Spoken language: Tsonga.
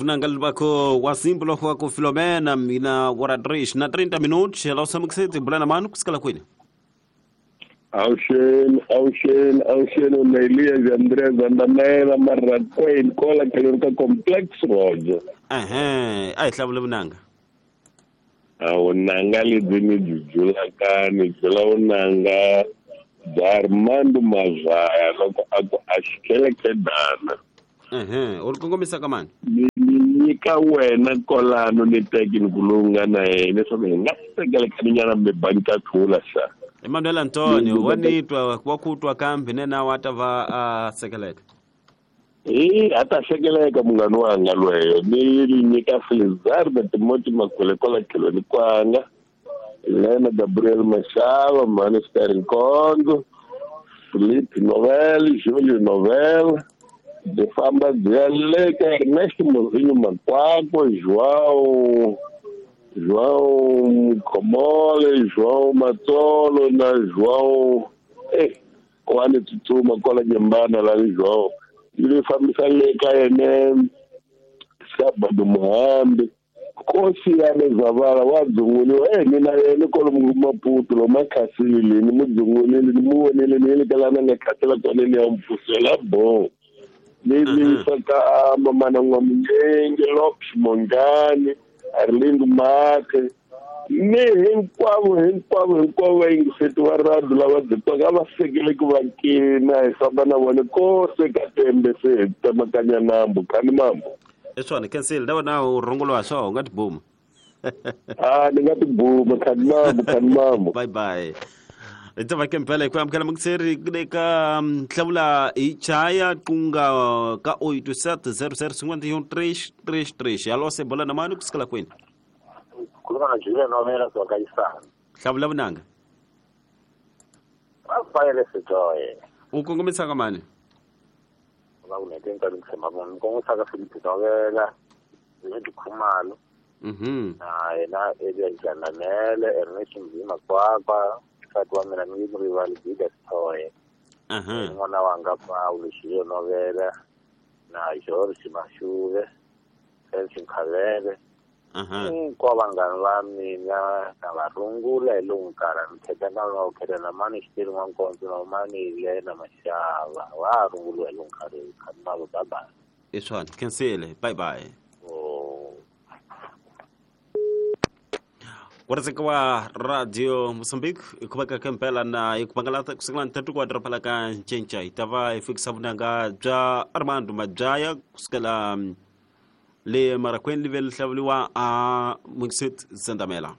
Vunanga libako wa simple wa ku Filomena mina ora 3 na 30 minutos ela usamukisete bulana manu kusikala kwini. Awuxeni, awuxeni, awuxeni Nelias Andrés Andamela Marrakweni kola tlhelo ka Complex Road. Ehe, a hi hlavule vunanga. A vunanga lebyi ni byi byulaka ni byula vunanga bya Armando Mazaya loko a ku a xikelekedana. Ehe, u ri kongomisa ka mani? Ni nyika wena kolano ni teki ni ku lowu nga na yena leswaku hi nga sekelekaninyana mi banka thula xa. Emmanuel Antonio wa ni twa wa ku twa kambe nena wa ta va a sekeleka. Hi a ta sekeleka munghana wanga lweyo ni nyika Felizardo Timothy Makhule kwala tlhelweni kwanga Lena Gabriel Mashava Mani Sterling Nkonzo Philippe Novel Julio Novel byi famba byi ya le ka Ernest Mozinho Makwakwa João Mkhomole João Matsolo na João wa ni tsutsuma kwala Nyembana la ni João yi fambisa le ka yene Sabado Muhambi Nkosi ya le Zavala wa dzunguliwa ni na yena kwalomu Maputo lomu akhasile ni mu dzungulile ni mu vonile ni le ka lana nga khasela kona ni ya mpfusela bo ni yisa ka mamana N'wamunyenge Lopes Mongani Arlindo Mathe ni hinkwavo hinkwavo hinkwavo vayingiseti va radio lava byi twaka a va sekeleki va kina hi famba na vona kose ka tembe se hi tsemakanya nambu khani mambo. I swona kensile na wena u runguriwa swo u nga tibuma. A ni nga tibuma khani mambo khani mambo. Bye bye. Hi ta ke mpela hi ku amukela mukiseri le ka hlavula hi chaya kunga ka 87 00 51 333 alo se bola na mani kusikala kwini. Khuluma na Julia Novela kusuka ka Isana. Hlavula vunanga. Rafael Sitoye. U kongomisa ka mani? Va ku nete nkarhi tshemba munhu ni kongomisa ka Philip Novela Leti Khumalo. Na yena Elias Jandamele Ernest Mzima Kwakwa nsati wa mina ni rivali Gida Sitoye. N'wana wanga Paulo Julio Novela na George Mashuve Felix Nkhavele. Hinkwavo vanghana va mina na va rungula hi lowu nkarhi ni kheta na va kheta na mani xitiri n'wankondzo na mani Lena Mashava va runguliwa hi lowu nkarhi khani mavo bye bye. I swona khensile bye bye. Ku wa Radio Mozambique hi khumeka ka mpela na hi ku bangalata kusukela nthatu ku wa ka ncinca hi ta va hi fikisa vunanga bya Armando Madyaya kusukela le Marakweni live li hlavuliwa a Muksit Zandamela.